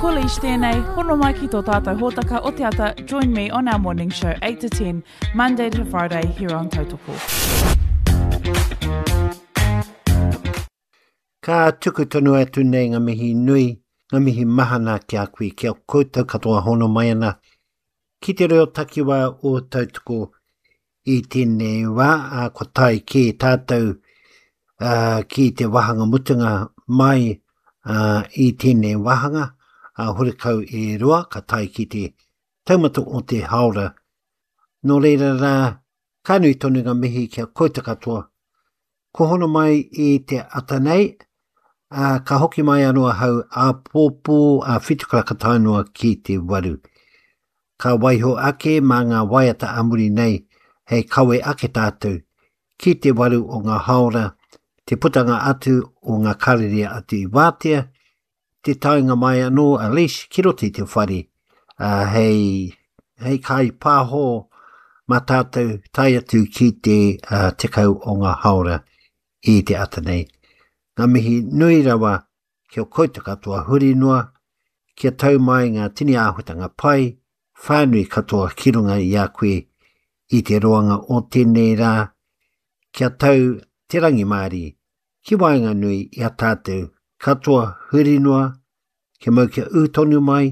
Ko Leish tēnei, hono mai ki tō tātou hōtaka o te ata, join me on our morning show 8 to 10, Monday to Friday here on Tautoko. Ka tuku tonu atu nei ngā mihi nui, ngā mihi mahana ki a koe, ki a koutou katoa hono mai ana ki te reo takiwā o Tautoko i tēnei wā, ā, kua tae kē tātou ā, ki te wāhanga mutunga mai ā, i tēnei wāhanga, ā, horekau e roa, ka tae ki te taumata o te haora. Nō reira rā, ka nui tonu ngā mihi ki a koutou katoa. Kua hono mai i te ata nei, ā, ka hoki mai anō ahau āpōpō ā whitukaraka tae noa ki te waru. Ka waiho ake mā ngā waiata a muri nei hei kawe ake tātou ki te waru o ngā haora, te putanga atu o ngā karere atu i wātea, te taenga mai anō a Lesh ki roto i te whare, ā, hei, hei kaipāho mā tātou tae atu ki te uh, tekau o ngā haora i te ata nei. Ngā mihi nui rawa kia koutou katoa huri noa, kia tau mai ngā tini āhuatanga pai, whānui katoa ki runga i a koe i te roanga o tēnei rā, kia tau te rangimārie ki waenganui i a tātou katoa huri noa, kia mau kia ū tonu mai,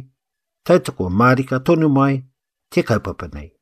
tautoko mārika tonu mai te kaupapa nei.